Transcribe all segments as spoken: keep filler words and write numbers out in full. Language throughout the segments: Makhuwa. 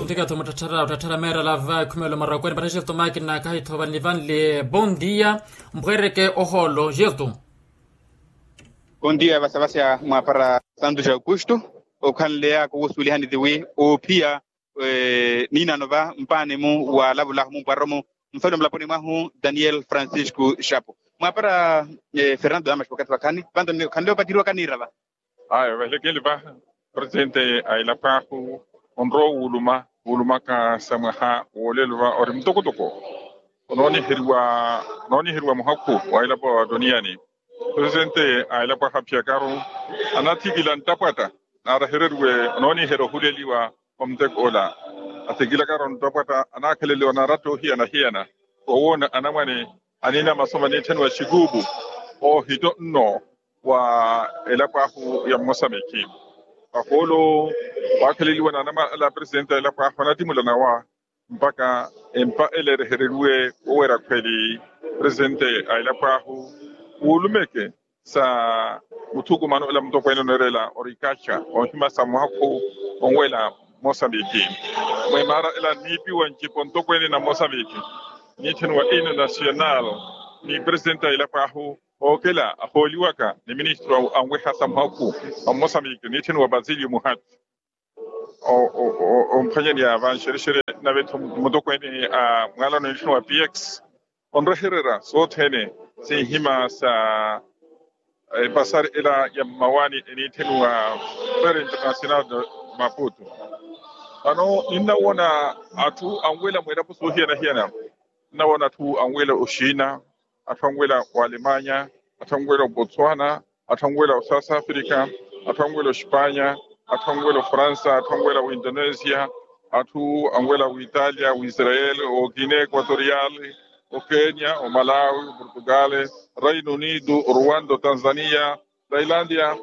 Ntikatho muttatthara ottatthara meerala va ekhumelo marakweni pattha jefto makina kahi thova nivanli. Bon dia. Mpweereke ohoolo jefto. Bon dia vasavasya mwaapara santu ja aukustu. Okhanleya kuwusuwelihani tiwi oophiya niinano va mpaani-mu waalavulahu mumpwaroro-mu mfali wa mulaponi mwahu daniel francisco xapo mwaapara. Fernando damas wakathi vakhaani vanto khanle opattiriwaka niira va. Aya vahilekeli va presidente a elapo ahu onrowa wuuluma wuulumaka sa mwaha woolelo va ori mutokotoko onooniheriwa onooniheriwa muhakhu wa elapo a toniyani. Presidente a elapo ahu aphiyakaru anathikila nttapwatta naarahereriwe onooniherya ohuleliwa wa muteko ola. Athikilakaru nttapwatta anaakhaleliwa naratta ohiyana-hiyana owoona anamwane aniina masomo aniitthaniwa xikuupu oohito nno wa elapo ahu ya mmosamiki. Vahoolo waakhaleliwa na anamwane ala a presidente a elapo ahu anattimula nawa mpakha empa ela erehereriwe woweera khweli presidente a elapo ahu wuulumeke sa muthukumano ela mutokweene oneerela orikaxa oohimasa muhakhu onwela mosambiki. Mwimaara ela nniipiwa ncipo ntokweene na mosambiki niitthaniwa ino nasional ni presidente a elapo ahu ookela ahooliwaka ni ministro anweha sa muhakhu a mosambiki niitthaniwa basilio muhati. Omphwanyani ya vanxerexere nave-tho mutokweene a mwaalano niitthaniwa px onrehererya sothene sinhima sa epasari ela ya mmawaani eniitthaniwa fere international de maputo. Vano ninnawoona atthu anwela mweelapo soohiyana-hiyana. Ninnawoona atthu anwela oxina, atthu anwela oalemanya, atthu anwela obotswana, atthu anwela osouth africa, atthu anwela ospanya, atthu anwela ofransa, atthu anwela oindonesia, atthu anwela oitalia oisrael, oguinea equatorial, okenya, omalawi, oportugal, reino unido, orwanda, otanzania, tailandia,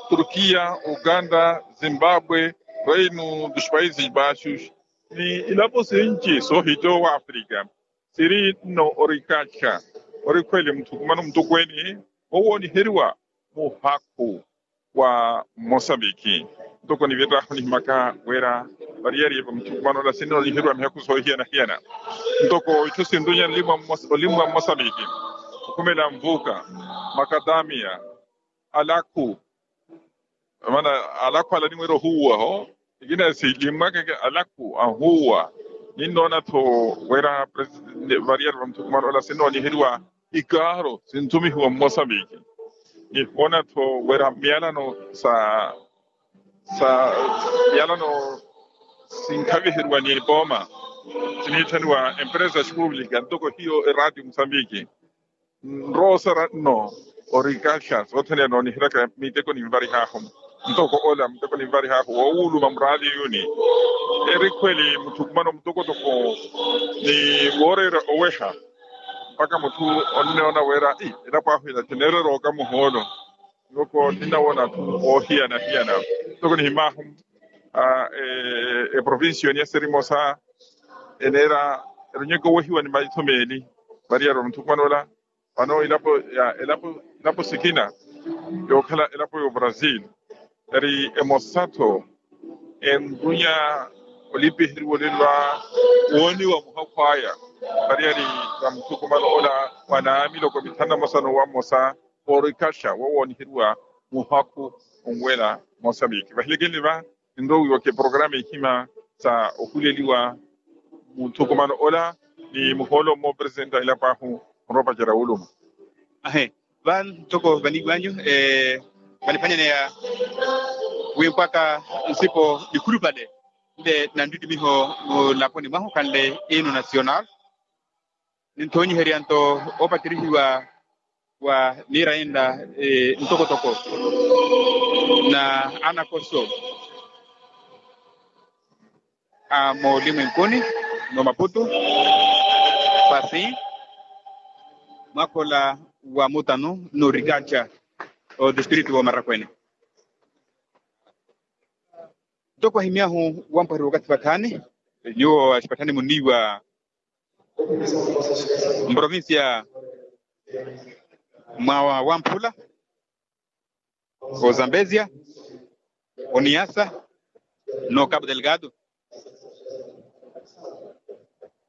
turkia, uganda, zimbabwe, reino dos países baixos, ni ilapo sinci soohitowa africa. Siri nno orikaxa ori khweli muthukumano mutokweene owooniheriwa muhakhu wa mosambiki. Ntoko nivetahu nihimaka wira variyari va muthukumano ola sinnooniheriwa mihakhu soohiyana-hiyana ntoko itthu sinrunya olimwa mosambiki, okhumela nvuka, makadamia, alakhu, maana alakhu ala animweerya ohuuwa ho ikina silimwakeke alakhu ahuuwa. Ninnoona-tho wira variyari va muthukumano ola sinnooniheriwa ikaaro sinthumihiwa mmosambiki. Nihoona-tho wira miyalano sa sa miyalano sinkhaviheriwa ni epooma siniitthaniwa empresas públicas ntoko hiyo eraatio musambiki. Nroosera nno orikaxa sothene nooniheryaka miteko ninvarihaahu ntoko ola miteko ninvarihaahu woowuluma muraali yuni eri khweli muthukumano mutokotoko ni wooreera oweha mpakha mutthu onnoona wira ii elapo ahu ila tineererooka muhoolo. Ntoko ninnawoona atthu oohiyana-hiyana ntoko nihimaahu eprovincia oniya sirimosa eneera erunyeke owehiwa ni maitho meeli variyari va muthukumano ola. Vano ilapo ya elapo ilapo sikina yookhala elapo y'obrasil eri emosa-tho enrunya olipiheriwa olelo a wooniwa muhakhu aya variyari va muthukumano ola wa naamiloko mithanu na mmosa n'uwa mmosa. Oorikaxa wowooniheriwa muhakhu onwela mosambiki vahilekeni va ninrowiwaka eporokaramu ihima sa ohuleliwa muthukumano ola ni muhoolo mmowa opresidenti a elapo ahu onrowa opacerya wuluma. Ahe va ntoko vaniiwanyu vaniphwanyaneya wi mpwaka nsipo nikhulupale nle na nttittimiho mulaponi mwahu khanle ino nasional. Ninthoonyiherya nto oopatirihiwa wa miira inla ntokotoko na anakoso a moolimwenkuni n'omaputu pasi mwakhola wa mutanu n'orikaca otistritu w'omarakwene. Ntoko ahimyahu wampwaheriwa okathi vakhaani nyuwo axipatthani muniiwa mprovincia mwa wamphula ozambezia oniasa no cabo delgado.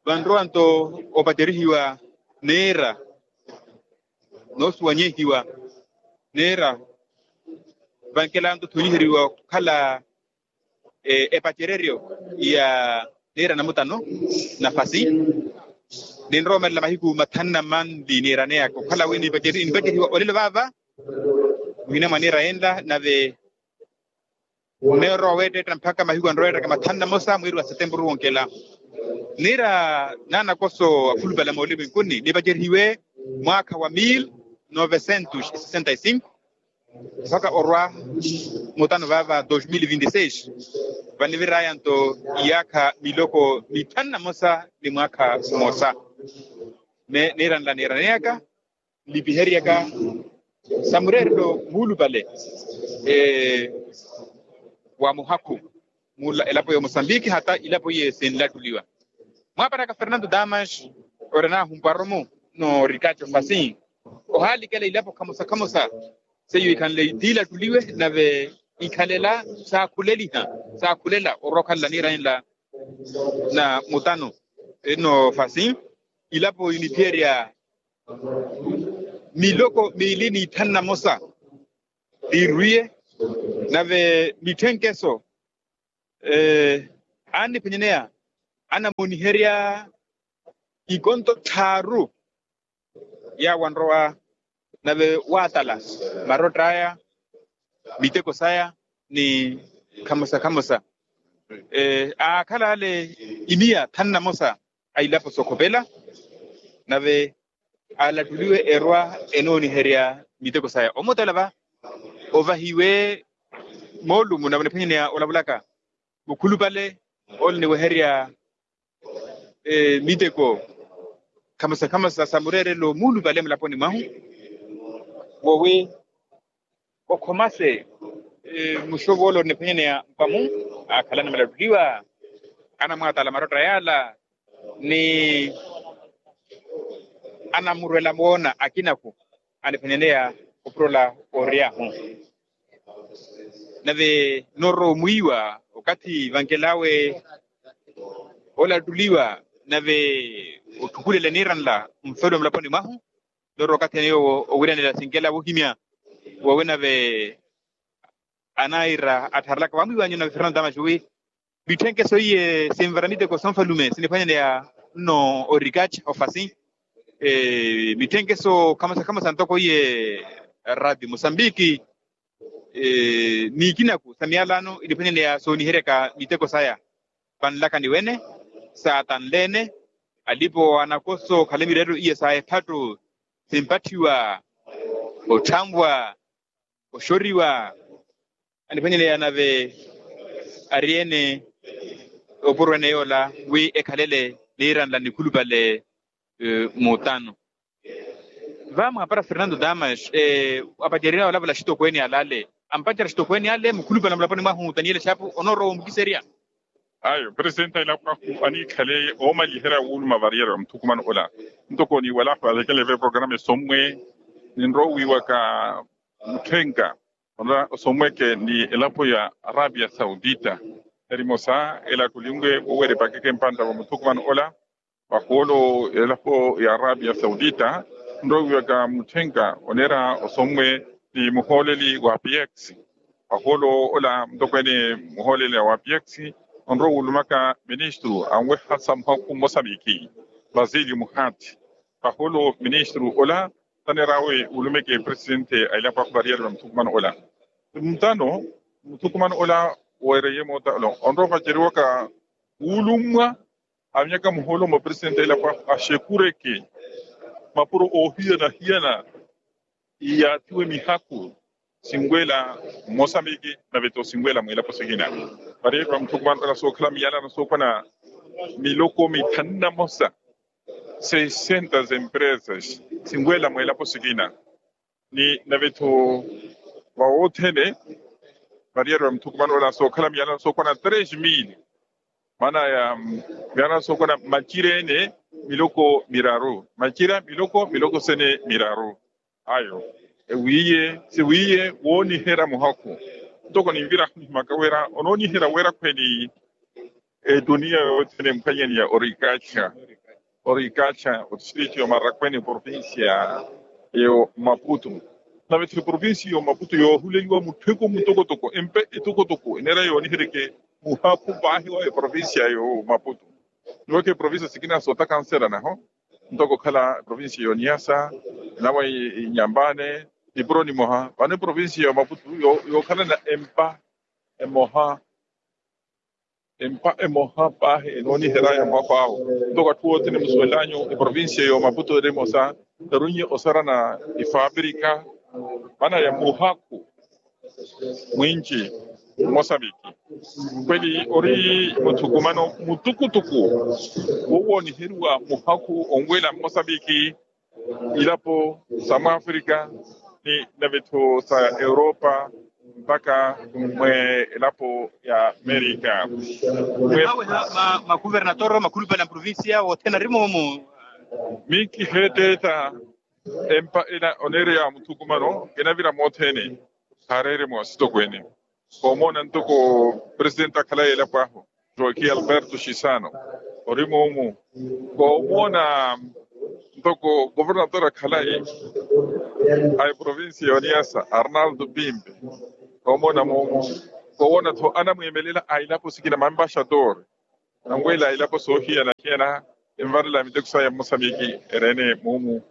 Vanrowa-nto opacerihiwa neera noosuwanyehiwa neera vankelanto thonyiheriwa okhala epacereryo ya neera namutano nafasi. Ninrowa omelela mahiku mathanu na manli niiraneyaka okhala wi nipacerihiwa olelo vaava muhina mwa niira yenla nave neerwa weettetta mpakha mahiku anrowa ettaka mathanu na mosa mwiiri wa setempuru wonkela. Niira naanakoso akhulupale a moolivwinkuni nipacerihiwe mwaakha wa mil novecentos e sessenta e cinco mpakha orwa mutano vaava dos mil vinti seis. Vaniviraya-nto iyaakha miloko mithanu na mosa ni mwaakha mmosa. Niira nla niiraneyaka nlipiheryaka sa mureerelo muulupale wa muhakhu mu elapo ya omosambiki hata ilapo iye sinlattuliwa. Mwaapataka fernando damas ori anahumpwaru-mu n'orikaco fasin ohaalikela ilapo khamosa khamosa seiyo ikhanle tiilattuliwe nave ikhalela saakhuleliha saakhulela orwa okhalela niira enla na mutano ino fasin ilapo iniphiyerya miloko miili n'ithanu na mosa tiirwiye nave mitthenkeso anniphenyeneya anamooniherya ikonto tthaaru yaawo anrowa nave waatala marotta aya miteko saya ni khamosa khamosa aakhala ale imiya thanu na mosa a ilapo sookhopela nave alattuliwe erwa enooniherya miteko saya omutela va ovahiwe moolumu nave oniphwanyaneya olavulaka mukhulupale ole niweherya miteko khamosa khamosa sa mureerelo muulupale mulaponi mwahu wowi okhomase muxovolo oniphwanyaneya mpamu akhalana malattuliwa anamwaatala marotta yaala ni anamurwela moona akinaku aniphwanyaneya opurola oryahu nave norwa omwiiwa okathi vankel'awe olattuliwa nave otthukulele niira nla mfelo mulaponi mwahu norwa okathi ene yoowo owiranela sinkela wohimya wowi nave anaira attharelaka vamwiiwanyu nave fernando damas wi mitthenkeso iye sinvara miteko sonfalume siniphwanyaneya nno orikaca ofasi mitthenkeso khamosa khamosa ntoko iye radio mosambiki n'ikinaku sa miyalano iniphwanyaneya sooniheryaka miteko saya vanlakani wene saatanle-ene alipo anakoso khale mireeryo iye sa ephattu simpatthiwa otthanvwa oxoriwa aniphwanyaneya nave ari-ene opuro ene yoola wi ekhalele niira nla nikhulupale mutano vamwaapara fernando damas apacererya olavula axitokweene ale ale ampacerya axitokweene ale mukhulupale mulaponi mwahu taniela exapu onoorowa omukiserya ayo presidente a ilapo ahu aniikhaleye oomaliherya wuuluma variyari va muthukumano ola ntoko niiwala ahu alekele ve programa esommwe ninrowiwaka mutthenka onra osomweke ni elapo ya arabia saudita erimosa elattoliwe woweripakeke mpantta wa muthukumano ola vahoolo elapo ya arabia saudita nrowiwaka mutthenka oneera osomwe ni muhooleli wa apiyex vahoolo ola mutokweene muhooleli wa apiyex onrowa wulumaka ministru anweha sa muhakhu mmosa miiki basili muhati vahoolo ministru ola taneer'awe wulumeke presidente a ilapo ahu variyari va muthukumano ola mutano muthukumano ola weereye moota onrowa ovaceriwaka wuulummwa avinyaka muhoolo mwa presidente a ilapo ahu axekureke mapuro oohiyana-hiyana iyaathiwe mihakhu sinwela mmosambiki nave-tho sinwela mwiilapo sikina variyari va muthukumano ola sookhala miyalano sookwana miloko mithanu na mosa sessentas empresas sinwela mwiilapo sikina ni nave-tho vawothene variyari va muthukumano ola sookhala miyalano sookwana tres mil maana ya miyalano sookwana macira-ene miloko miraru macira miloko miloko sene miraru ayo ewiiye siwiiye wooniherya muhakhu ntoko ninvira ahunihimaka wira onooniherya wira khweeni etuniya yothene mphwanyani ya orikaca orikattha otistrito y'omarakweni provincia y'omaputu. Nave-tho eprovincia y'omaputu yoohuleliwa mutthweko mutokotoko empa etokotoko eneera yooniheryeke muhakhu paahi wa eprovincia y'omaputu. Niwaka eprovincia sikina sootaka nserana-ho ntoko okhala eprovincia y'oniyasa, nawe inyambane, nipuro nimoha vano eprovincia y'omaputu yookhalana empa emoha empa emoha paahi enooniherya ya mwakho awo. Ntoko atthu othene musuwelanyu eprovincia y'omaputu eri emosa, erunye osarana ifapirika mana ya muhakhu mwinci mosambiki. Kweli ori muthukumano mutukutuku wowooniheriwa muhakhu onwela mmosambiki ilapo sa mwafrika ni nave-tho sa europa mpakha mwe elapo ya amerika. Mwe awe ha makuvernator makhulupale a mprovincia wothene ari moomu. Minki heeteeta empa ena oneereya muthukumano kinavira mothene. Haareere mwa sitokwene koomoona ntoko presidente akhalayi elapo ahu joaquim alberto chisano ori moomu. Koomoona ntoko governator akhalayi a eprovincia y'oniyasa arnaldo pimpe. Koomoona moomu koowoona-tho anamweemelela a ilapo sikina mambaxator anwela a ilapo soohiyana-hiyana envarela miteko saya mmosamiki. Eri-ene muumu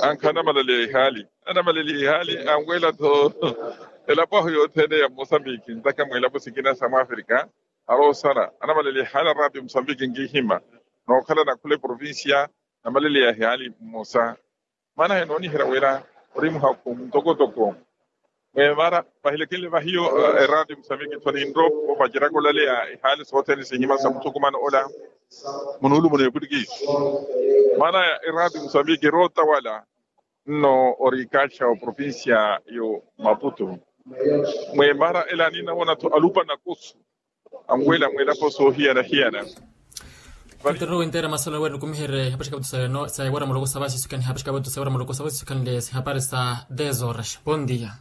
ankha anamalaliha ihaali anamalaliha ihaali anwela-tho elapo ahu yothene ya mmosamiki ntaka mwilapo sikina sa mwafrika. Aroosala anamalaliha ihaali araati mmosamiki nkihima nookhalana khula eprovincia namalaliha ihaali mmosa. Maana henooniherya wira ori muhakhu mutokotoko. Mweemara vahilekenle vahiyo eraati mmosamiki tho ninropo vaceraka olaleya ihaali sothene sihima sa muthukumano ola munuulu muno epwitikisi. Maana eraati mmosamiki erootawala nno orikaxa oprovincia yo maputu. Mweemara ela ninawona-tho alupa nakosu anwela mwilapo soohiyana-hiyana. Fotero winteera masolo weri nikumiherye ihapaxika vatu sa ewara muloko sa vasisukani ihapaxika vatu sa ewara muloko sa vasisukani le sihapari sa dez horas. Bom dia.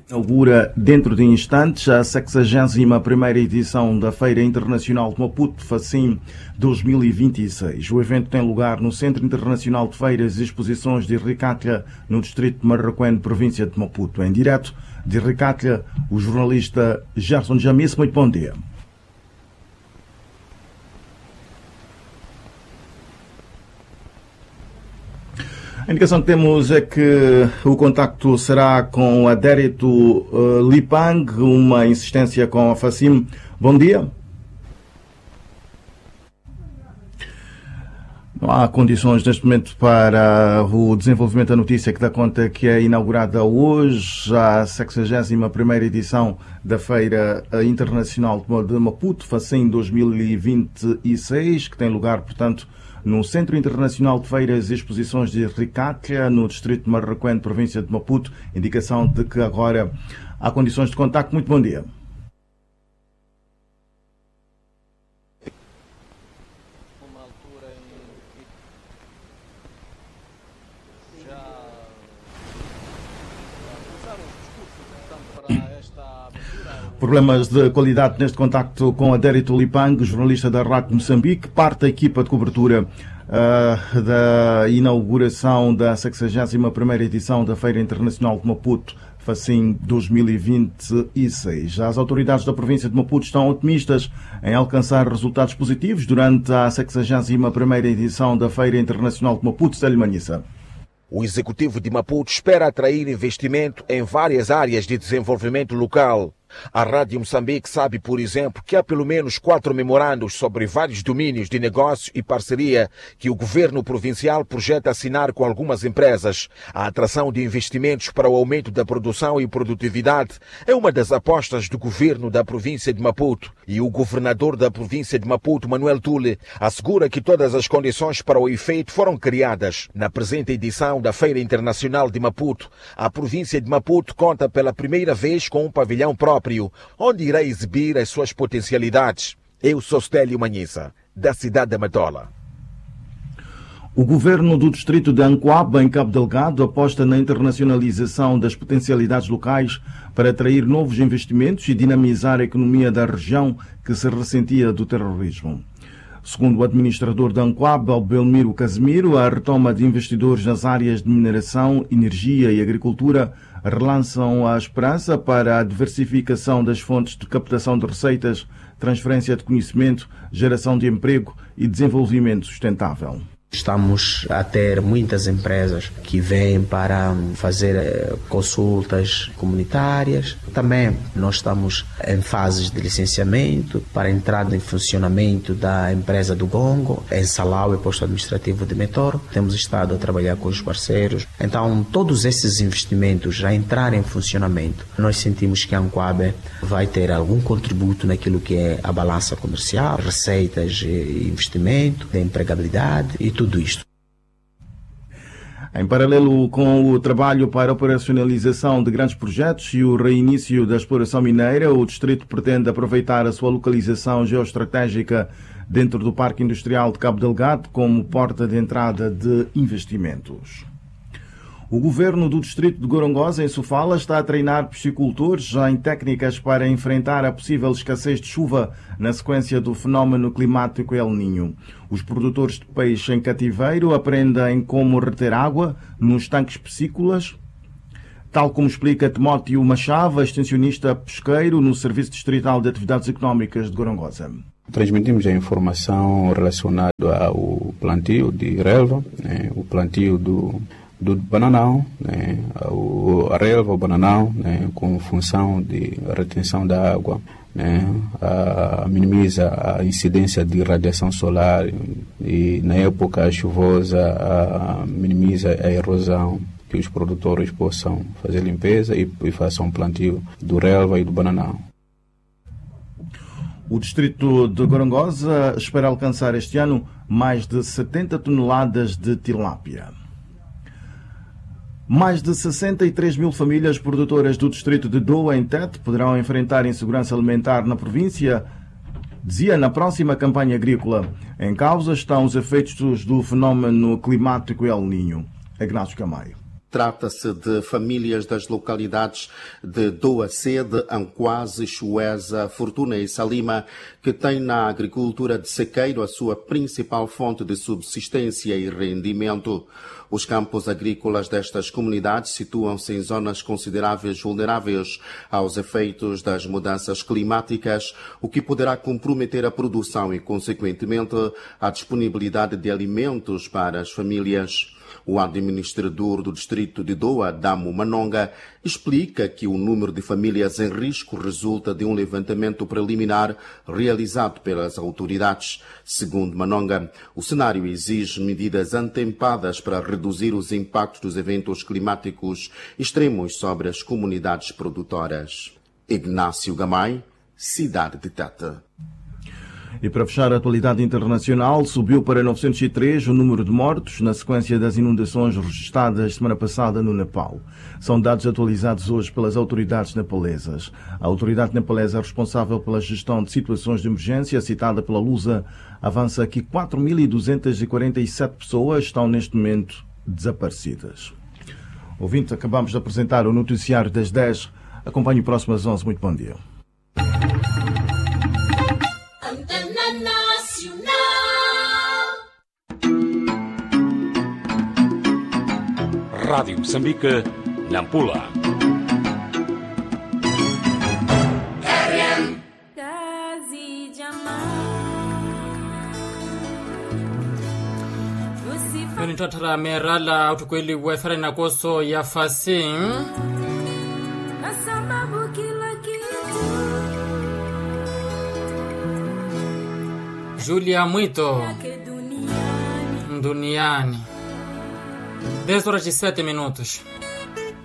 Inaugura dentro de instantes a sexagésima primeira edição da Feira Internacional de Maputo, Facim dois mil e vinte e seis. O evento tem lugar no Centro Internacional de Feiras e Exposições de Ricatla, no distrito de Marraquém, província de Maputo. Em direto de Ricatla, o jornalista Gerson Jamis. Muito bom dia. A indicação que temos é que o contacto será com o Adérito, eh, Lipang, uma insistência com a Facim. Bom dia. Não há condições neste momento para o desenvolvimento da notícia que dá conta que é inaugurada hoje a sexagésima primeira edição da Feira, eh, Internacional de Mo-, de Maputo, Facim dois mil e vinte e seis, que tem lugar, portanto, no Centro Internacional de Feiras e Exposições de Ricatla, no distrito de Marraquém, província de Maputo. Indicação de que agora há condições de contacto. Muito bom dia. Problemas de qualidade neste contacto com Adérito Lipang, jornalista da Rádio Moçambique, parte da equipa de cobertura, ah, da inauguração da sexagésima primeira edição da Feira Internacional de Maputo, Facim dois mil e vinte e seis. As autoridades da província de Maputo estão otimistas em alcançar resultados positivos durante a sexagésima primeira edição da Feira Internacional de Maputo, Célio Manhissa. O executivo de Maputo espera atrair investimento em várias áreas de desenvolvimento local. A Rádio Moçambique sabe, por exemplo, que há pelo menos quatro memorandos sobre vários domínios de negócio e parceria que o governo provincial projeta assinar com algumas empresas. A atração de investimentos para o aumento da produção e produtividade é uma das apostas do governo da província de Maputo. E o governador da província de Maputo, Manuel Tule, assegura que todas as condições para o efeito foram criadas. Na presente edição da Feira Internacional de Maputo, a província de Maputo conta pela primeira vez com um pavilhão próprio, onde irá exibir as suas potencialidades. Eu sou Stélio Manhissa, da cidade de Matola. O governo do distrito de Ancoaba, em Cabo Delgado, aposta na internacionalização das potencialidades locais para atrair novos investimentos e dinamizar a economia da região que se ressentia do terrorismo. Segundo o administrador da anquab, belmiro casimiro, a retoma de investidores nas áreas de mineração, energia e agricultura relançam a esperança para a diversificação das fontes de captação de receitas, transferência de conhecimento, geração de emprego e desenvolvimento sustentável. Estamos a ter muitas empresas que vêm para fazer consultas comunitárias. Também nós estamos em fases de licenciamento para a entrada em funcionamento da empresa do Gongo em Salau e posto administrativo de Metoro. Temos estado a trabalhar com os parceiros. Então todos esses investimentos já entrarem em funcionamento, nós sentimos que a anquab vai ter algum contributo naquilo que é a balança comercial, receitas, investimento, empregabilidade e tudo isto. Em paralelo com o trabalho para a operacionalização de grandes projetos e o reinício da exploração mineira, o distrito pretende aproveitar a sua localização geoestratégica dentro do Parque Industrial de Cabo Delgado como porta de entrada de investimentos. O governo do distrito de Gorongosa, em Sofala, está a treinar psicultores em técnicas para enfrentar a possível escassez de chuva na sequência do fenómeno climático El Niño. Os produtores de peixe em cativeiro aprendem como reter água nos tanques piscícolas, tal como explica Timóteo Machava, extensionista pesqueiro no Serviço Distrital de Atividades Económicas de Gorongosa. Transmitimos a informação relacionada ao plantio de relva, né, o plantio do, do bananal, né, o, a relva, o bananal, né, com função de retenção da água, né, a, minimiza a incidência de radiação solar e, na época chuvosa, a, minimiza a erosão, que os produtores possam fazer limpeza e, e façam plantio do relva e do bananal. O distrito de Gorongosa espera alcançar este ano mais de setenta toneladas de tilápia. Mais de sessenta e três mil famílias produtoras do distrito de Doa, em Tete, poderão enfrentar insegurança alimentar na província, dizia na próxima campanha agrícola. Em causa estão os efeitos do fenómeno climático El Niño. Ignacio Camayo. Trata-se de famílias das localidades de Doa Sede, Anquase, Chueza, Fortuna e Salima, que têm na agricultura de sequeiro a sua principal fonte de subsistência e rendimento. Os campos agrícolas destas comunidades situam-se em zonas consideráveis vulneráveis aos efeitos das mudanças climáticas, o que poderá comprometer a produção e, consequentemente, a disponibilidade de alimentos para as famílias. O administrador do distrito de Doa, Damo Manonga, explica que o número de famílias em risco resulta de um levantamento preliminar realizado pelas autoridades. Segundo Manonga, o cenário exige medidas antempadas para reduzir os impactos dos eventos climáticos extremos sobre as comunidades produtoras. Ignacio Gamay, Cidade de Tete. E para fechar a atualidade internacional, subiu para novecentos e três o número de mortos na sequência das inundações registadas semana passada no Nepal. São dados atualizados hoje pelas autoridades nepalesas. A autoridade nepalesa responsável pela gestão de situações de emergência, citada pela Lusa, avança que quatro mil duzentas e quarenta e sete pessoas estão neste momento desaparecidas. Ouvinte, acabamos de apresentar o noticiário das dez. Acompanhe o próximo às onze. Muito bom dia. Antena Nacional. Rádio Moçambique, Nampula. Yo nittatthara meerala ottukweliwe efere nakoso ya fasi. Julia Mwito. Nduniani. Dez horas e sete minutos.